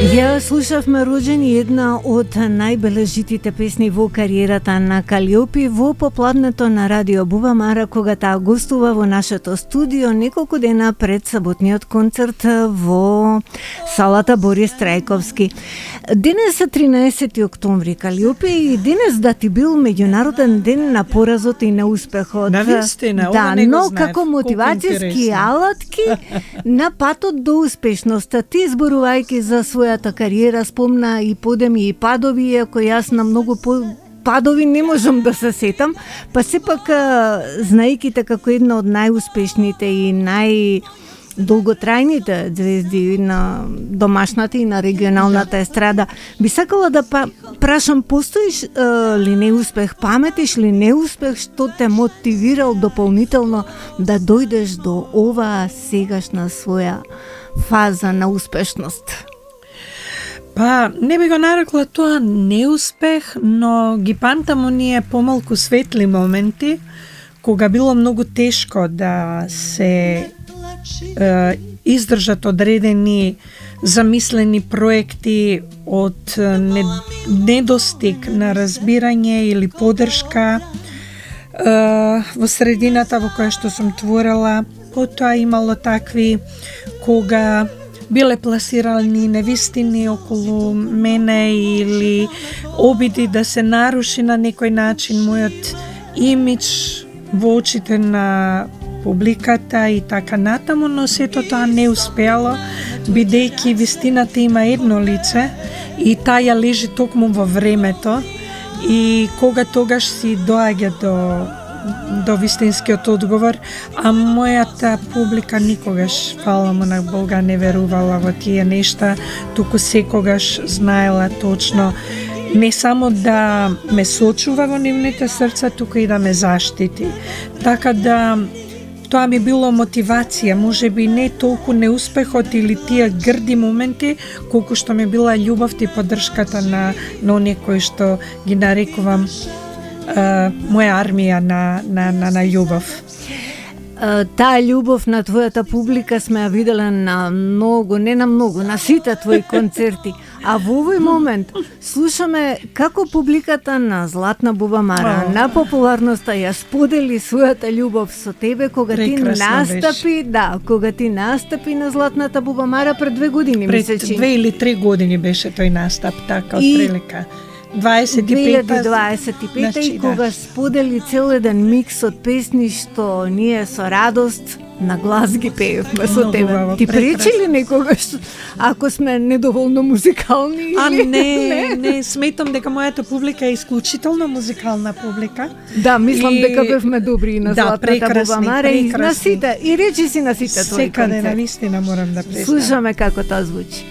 Ја слушавме Роđeni, една од најбележитите песни во кариерата на Калиопи во попладнето на Радио Бубамара, кога таа гостува во нашето студио неколку дена пред саботниот концерт во салата Борис Трајковски. Денес е 13 октомври, Калиопи, и денес да ти бил меѓународен ден на поразот и на успехот. Навистина, да, не го но знаев, како мотивацијски алатки на патот до успешноста. Ти зборувајќи за својата кариера спомна и подеми и падови, иако јас на многу падови не можам да се сетам, па сепак знаејќи те како една од најуспешните и долготрајните звезди на домашната и на регионалната естрада. Би сакала да прашам, постоиш ли неуспех, паметиш ли неуспех што те мотивирал дополнително да дојдеш до оваа сегашна своја фаза на успешност? Па, не би го нарекла тоа неуспех, но ги памтам оние помалку светли моменти, кога било многу тешко да се издржат одредени замислени проекти од недостиг на разбирање или поддршка во средината во која што сум творела. Потоа имало такви кога биле пласирани невистини околу мене или обиди да се наруши на некој начин мојот имидж во очите на публиката и така натаму, но сето тоа не успеало, бидејќи вистината има едно лице и таа лежи токму во времето, и кога тогаш си доаѓа до вистинскиот одговор, а мојата публика никогаш, фала му на Бога, не верувала во тие нешта, туку секогаш знаела точно не само да ме сочува во нивните срца, туку и да ме заштити. Така да тоа ми било мотивација, можеби не толку неуспехот или тие грди моменти, колку што ми била љубовта и поддршката на оние кои што ги нарекувам моја армија на љубов. Таа љубов на твојата публика сме ја виделе на многу, не на многу, на сите твои концерти. А во овој момент слушаме како публиката на Златна Бубамара, на популарноста ја сподели својата љубов со тебе кога ти настапи, кога ти настапи на Златната Бубамара пред 2 години, мисля, че 2 или 3 години беше тој настап, така од прилика. 2025 и кога сподели цел еден микс од песни што ние со радост на глас ги пеевме со тебе. Ти пречи ли некогаш ако сме недоволно музикални? Или? Не, сметам дека мојата публика е исклучително музикална публика. Да, мислам дека бевме добри на Златната Бубамара и на сите, и речи си на сите твои концерти. Секаде, навистина морам да признам. Слушаме како тоа звучи.